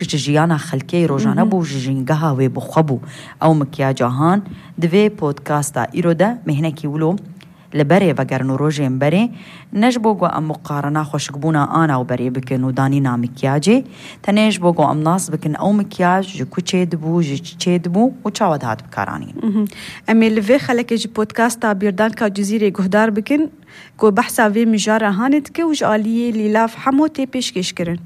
جيانا خلكي روجانا بو جينجاها وبخبو أو مكياجاهان دوی بودكاستا إيرودا مهنكي ولو لبري وگرنو روجين بري نجبوغو أم مقارنة خوشكبونا آنا وبري بكن ودانينا مكياجي تنجبوغو أم ناس بكن أو مكياج جو كوچه دبو جو چه دبو وچاود هاد بكارانين أمي لفي خلك جي بودكاستا بيردان كا جزيري گهدار بكن كو بحثا في مجارة هانتك وج آلية للاف حمو تي پیشکش کرن.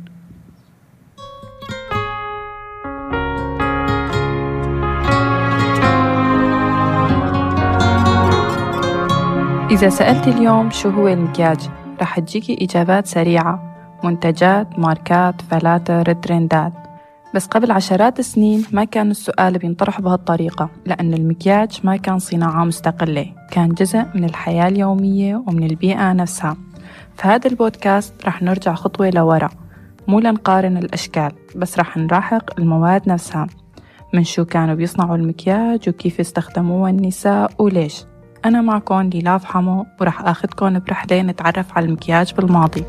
إذا سألت اليوم شو هو المكياج رح تجيكي إجابات سريعة، منتجات، ماركات، فلاتر، ترندات. بس قبل عشرات السنين ما كان السؤال بينطرح بهالطريقة، لأن المكياج ما كان صناعة مستقلة، كان جزء من الحياة اليومية ومن البيئة نفسها. فهذا البودكاست رح نرجع خطوة لورا، مو لنقارن الأشكال بس رح نراحق المواد نفسها، من شو كانوا بيصنعوا المكياج وكيف استخدموها النساء وليش. أنا معكم ليلاف حمو ورح آخدكم برحلة نتعرف على المكياج بالماضي.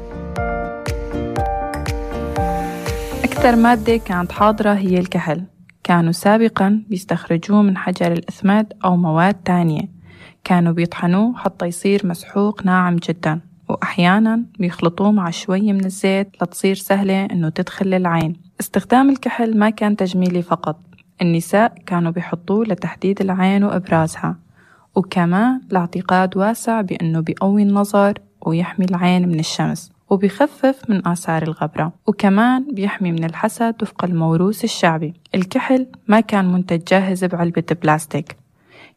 أكثر مادة كانت حاضرة هي الكحل، كانوا سابقاً بيستخرجوه من حجر الإسماد أو مواد تانية، كانوا بيطحنوه حتى يصير مسحوق ناعم جداً، وأحياناً بيخلطوه مع شوية من الزيت لتصير سهلة إنه تدخل العين. استخدام الكحل ما كان تجميلي فقط، النساء كانوا بيحطوه لتحديد العين وإبرازها، وكمان لاعتقاد واسع بأنه بيقوي النظر ويحمي العين من الشمس وبيخفف من آثار الغبرة، وكمان بيحمي من الحسد وفق الموروث الشعبي. الكحل ما كان منتج جاهز بعلبة بلاستيك،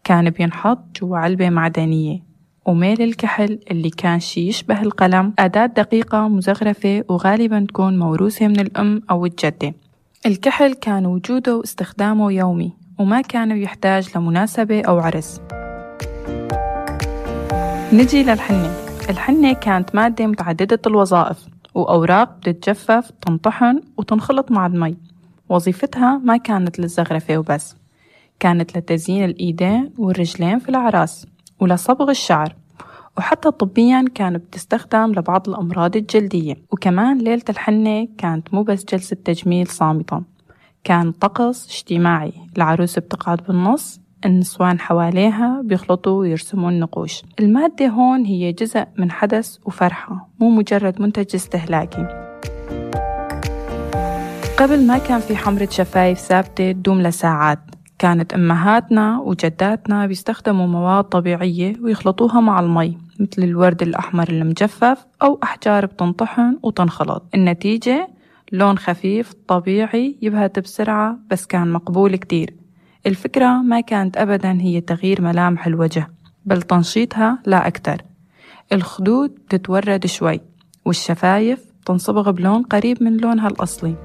كان بينحط جوا علبة معدنية، وميل الكحل اللي كان شي يشبه القلم أداة دقيقة مزخرفة وغالبا تكون موروثة من الأم أو الجدة. الكحل كان وجوده واستخدامه يومي وما كان يحتاج لمناسبة أو عرس. نجي للحنة. الحنة كانت مادة متعددة الوظائف وأوراق بتتجفف تنطحن وتنخلط مع المي. وظيفتها ما كانت للزخرفة وبس، كانت لتزيين الإيدين والرجلين في الأعراس ولصبغ الشعر، وحتى طبياً كانت بتستخدم لبعض الأمراض الجلدية. وكمان ليلة الحنة كانت مو بس جلسة تجميل صامتة، كان طقس اجتماعي، العروس بتقعد بالنص، النسوان حواليها بيخلطوا ويرسموا النقوش. المادة هون هي جزء من حدث وفرحة، مو مجرد منتج استهلاكي. قبل ما كان في حمرة شفايف ثابتة تدوم لساعات، كانت أمهاتنا وجداتنا بيستخدموا مواد طبيعية ويخلطوها مع المي، مثل الورد الأحمر المجفف أو أحجار بتنطحن وتنخلط. النتيجة لون خفيف طبيعي يبهت بسرعة، بس كان مقبول كتير. الفكرة ما كانت أبداً هي تغيير ملامح الوجه، بل تنشيطها لا أكتر. الخدود تتورد شوي والشفايف تنصبغ بلون قريب من لونها الأصلي.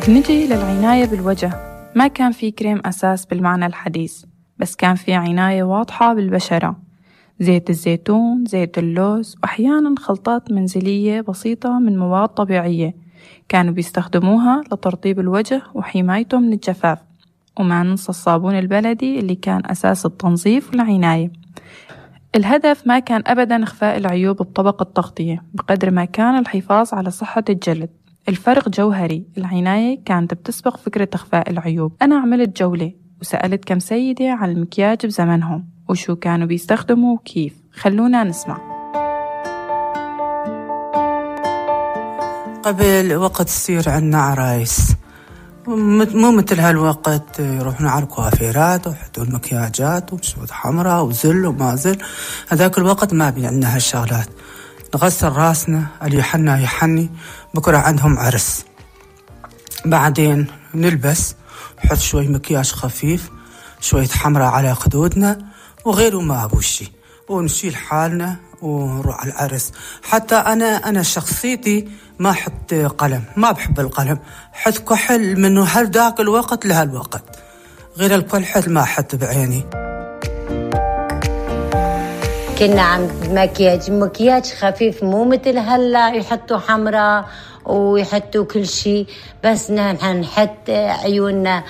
بنجي للعناية بالوجه. ما كان في كريم أساس بالمعنى الحديث، بس كان في عناية واضحة بالبشرة، زيت الزيتون، زيت اللوز، وأحياناً خلطات منزلية بسيطة من مواد طبيعية كانوا بيستخدموها لترطيب الوجه وحمايته من الجفاف. وما ننسى الصابون البلدي اللي كان أساس التنظيف والعناية. الهدف ما كان أبداً إخفاء العيوب بطبقة تغطية، بقدر ما كان الحفاظ على صحة الجلد. الفرق جوهري، العناية كانت بتسبق فكرة إخفاء العيوب. أنا عملت جولة وسألت كم سيدة عن المكياج بزمنهم وشو كانوا بيستخدموا وكيف. خلونا نسمع. قبل وقت تصير عنا عرايس، مو مثل هالوقت يروحون على الكوافيرات ويحطوا المكياجات وشوط حمراء وزل وما زل. هذاك الوقت ما بي عندنا هالشغلات، نغسل راسنا، اللي يحنا يحني، بكرة عندهم عرس، بعدين نلبس، نحط شوي مكياج خفيف، شوية حمراء على خدودنا وغيره ما أبو شي، ونشيل حالنا ونروح على العرس. حتى أنا شخصيتي ما أحط قلم، ما بحب القلم، حط كحل منه هالداك الوقت لهالوقت، غير الكحل ما أحط بعيني. كنا عم مكياج خفيف، مو مثل هلا يحطوا حمراء ويحطوا كل شيء، بس نحن نحط عيوننا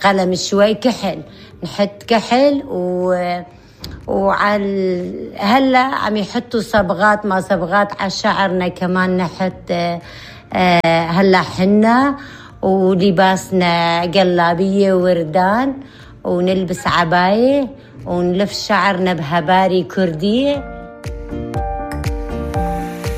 قلم شوي كحل، نحط كحل هلا عم يحطوا صبغات، ما صبغات على شعرنا كمان، نحط هلا حنا ولباسنا قلابية ووردان، ونلبس عباية ونلف شعرنا بهباري كردية.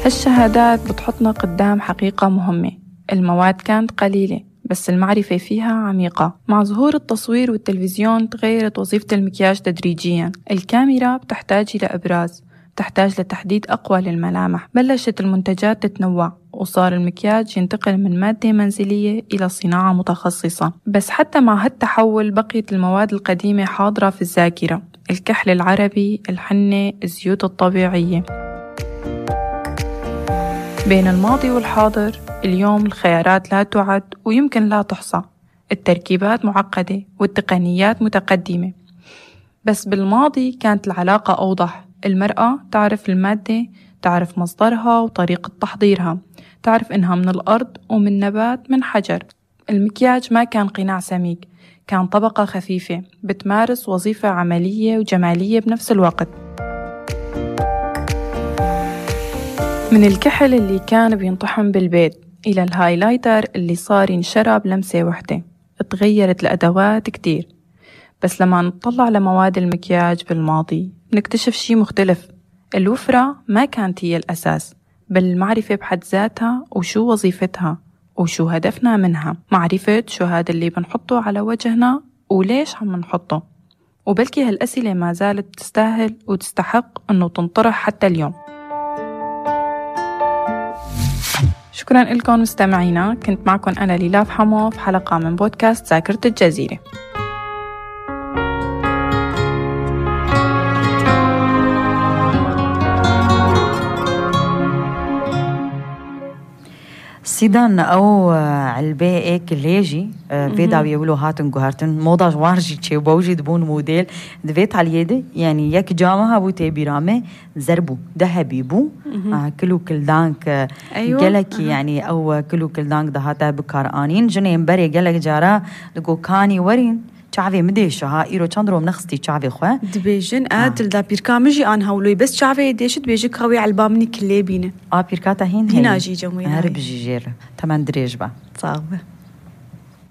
هالشهادات بتحطنا قدام حقيقة مهمة، المواد كانت قليلة بس المعرفة فيها عميقة. مع ظهور التصوير والتلفزيون تغيرت وظيفة المكياج تدريجياً. الكاميرا بتحتاج إلى إبراز، بتحتاج لتحديد أقوى للملامح. بلشت المنتجات تتنوع وصار المكياج ينتقل من مادة منزلية إلى صناعة متخصصة. بس حتى مع هالتحول بقيت المواد القديمة حاضرة في الذاكرة، الكحل العربي، الحنة، الزيوت الطبيعية. بين الماضي والحاضر اليوم الخيارات لا تعد ويمكن لا تحصى، التركيبات معقدة والتقنيات متقدمة. بس بالماضي كانت العلاقة أوضح، المرأة تعرف المادة، تعرف مصدرها وطريقة تحضيرها، تعرف إنها من الأرض ومن نبات من حجر. المكياج ما كان قناع سميك، كان طبقة خفيفة بتمارس وظيفة عملية وجمالية بنفس الوقت. من الكحل اللي كان بينطحن بالبيت إلى الهايلايتر اللي صار ينشرى بلمسة وحدة، اتغيرت الأدوات كتير. بس لما نطلع لمواد المكياج بالماضي نكتشف شي مختلف، الوفرة ما كانت هي الأساس، بل المعرفة بحد ذاتها وشو وظيفتها وشو هدفنا منها. معرفة شو هذا اللي بنحطه على وجهنا وليش عم نحطه. وبلكي هالأسئلة ما زالت تستاهل وتستحق أنه تنطرح حتى اليوم. شكرا لكم مستمعينا، كنت معكم أنا ليلاف حمو في حلقة من بودكاست ذاكرة الجزيرة. سيدان أو علبة كليجي فيدا بيقولوا هاتن جوهرتن موضة جوارجي تشي بوجد بون موديل دفيت على يدي يعني يك جامها بو تبيرامه زربو ذهبي بو كلو كل دانك جلك يعني أو كلو كل دانك دهاتا بكارانين جنين بري جلك جارا لقو كاني ورين شعبي مديش ها إيرو چندرو منخستي شعبي خواه دبيجن آدل دا بيركامجي آن هولوي بس شعبي ديشت بيجي كوي علبامني كلي بينه بيركاتا هين هنا جي جموين هرب جيجير تمن دريج با صعبة.